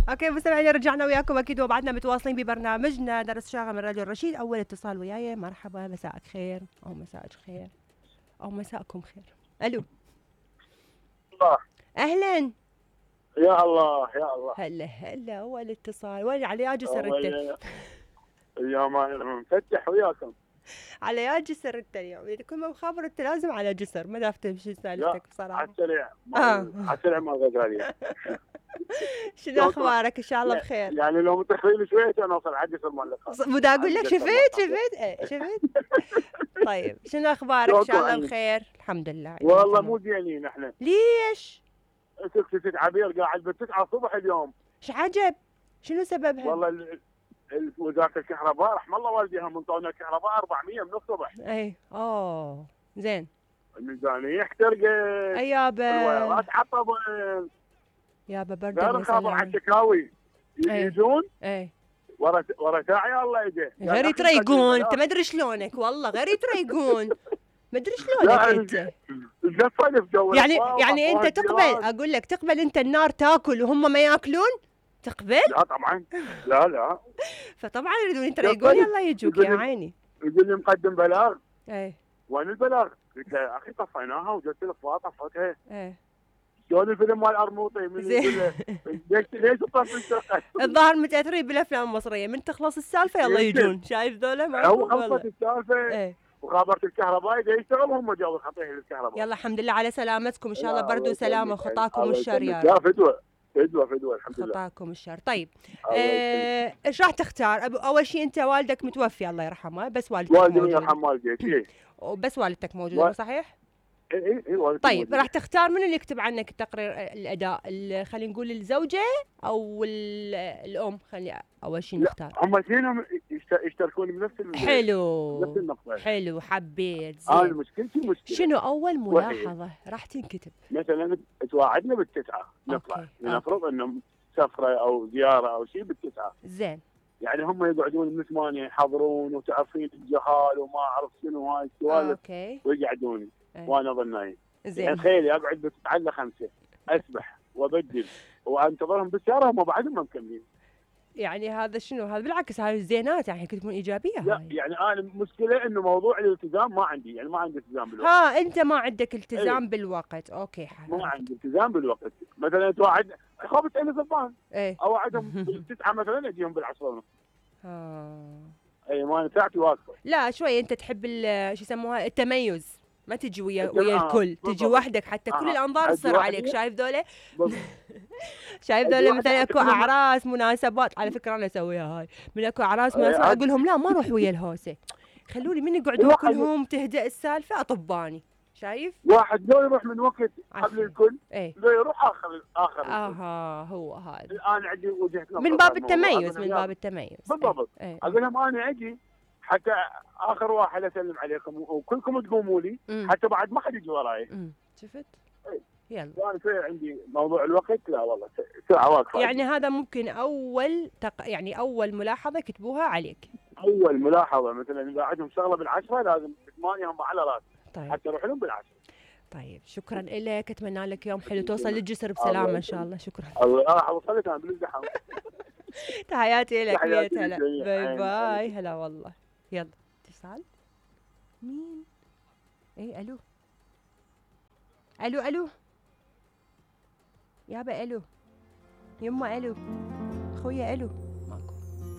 اوكي مستمعينا، رجعنا وياكم اكيد وبعدنا متواصلين ببرنامجنا درس شاغل من راديو الرشيد. اول اتصال وياي، مرحبا، مساءك خير او مساءك خير او مساءكم خير. الو. الله. اهلا. يا الله يا الله. هلا هلا. اول اتصال وين على يا جسر انت؟ اليوم انا مفتح وياكم. على يا جسر انت اليوم، يعني كل ما بخابر انت لازم على جسر، ما داف تمشي سالفتك بصراحه. على السريع على السريع ما غزالي. شنو اخبارك؟ ان شاء الله بخير. يعني لو متاخرين شويه انا اوصل على جسر مالك. بدي اقول لك شفت طيب شنو اخبارك؟ ان شاء الله بخير. الحمد لله. والله مو زينين احنا. ليش؟ سكتة عبير قاعد ب9 الصبح اليوم. ايش عجب؟ شنو سببها؟ والله وزاره الكهرباء رحم الله والديها منطونا الكهرباء 400 من الصبح. اي زين. الميزانيه احترقت. اي يابا. الوايرات عطبت. يابا برد. غير خاطر على الشكاوي يجون. اي ورا ساعي الله يده. غير يتريقون، انت ما ادري شلونك والله، غير يتريقون. ما ادري شلونك انت. يعني انت تقبل، اقول لك تقبل انت النار تاكل وهم ما ياكلون؟ تقبل؟ لا طبعا. لا فطبعا يريدون يتريقون. يلا يجوك يا عيني. يقول لي مقدم بلاغ. اي وين البلاغ؟ قلت له يا اخي طفيناها وجبت الاخبار طفتها. اي شلون الفيلم مال ارموطي من يقول له ليش تطفي الشقه؟ الظاهر متاثرين بالافلام المصريه، من تخلص السالفه يلا يجون. شايف ذولا ما هو خلصت السالفه. وخابرت الكهرباء يشتغل هم جابوا خطيه للكهرباء. يلا الحمد لله على سلامتكم، ان شاء الله برد وسلامه وخطاكم الشر يا رب. يا فدوه الحمد لله. خطاكم الشر. طيب ايش راح تختار؟ اول شيء انت والدك متوفي الله يرحمه، بس والدتك موجوده. والدي يرحم والديك. بس والدتك موجوده صحيح؟ اي طيب راح تختار من اللي يكتب عنك تقرير الاداء؟ خلينا نقول الزوجه او الام؟ خلي اول شيء نختار. هم اثنينهم يشتركون بنفس حلو نفس النقطه. حلو مشكلتي مشكله. شنو اول ملاحظه راح تنكتب؟ مثلا تواعدنا ب9 نطلع، نفرض انه سفره او زياره او شيء ب9. زين. يعني هم يقعدون من 8 يحضرون وتعرفين الجهال وما اعرف شنو هاي السوالف. ويقعدون وانا اظن نايم. زين. يعني تخيلي اقعد ب9 ل 5 اسبح وابدل وانتظرهم بالسياره هم بعدهم ما مكملين. يعني هذا شنو؟ هذا بالعكس هاي زينات، يعني تكون ايجابيه. لا هاي يعني انا المشكله انه موضوع الالتزام ما عندي، يعني ما عندي التزام بالوقت. انت ما عندك التزام بالوقت. اوكي ما عندي التزام بالوقت. مثلا توعد خابت انا زبان اوعدهم ب9 مثلا اجيهم بالعصر ونص. اي ما ساعتي واقفه. لا شوي انت تحب شو يسموها التميز، ما تجي ويا الكل، تجي وحدك حتى كل الانظار تصير عليك. شايف ذولا؟ شايف ذولا مثلا اكو اعراس مناسبات، على فكره انا اسويها هاي، من اكو اعراس مناسبات اقول لهم لا ما اروح ويا الهوسه، خلوني من يقعدون كلهم تهدأ السالفه اطباني. شايف؟ واحد لو يروح من وقت قبل الكل لو يروح اخر هو هذا. الان عندي وجهه نظر من باب التميز، من باب التميز بالضبط. اقول لهم انا اجي حتى اخر واحد اسلم عليكم وكلكم تقوموا لي حتى بعد ما حد يجي وراي. شفت؟ يلا. انا شوي عندي موضوع الوقت لا والله ساعه واقفه. يعني هذا ممكن اول يعني اول ملاحظه كتبوها عليك. اول ملاحظه مثلا اذا عندهم شغله ب10 لازم ب8 هم على راسي. طيب. حتى يروح لهم ب10. طيب شكرا لك، اتمنى لك يوم حلو، توصل للجسر بسلامه ان شاء الله. شكرا. الله راح اوصلك انا بالازدحام. تحياتي لك. هلا باي باي. هلا والله. يلا اتصال. مين؟ ايه الو الو يابا الو يما الو خويا الو.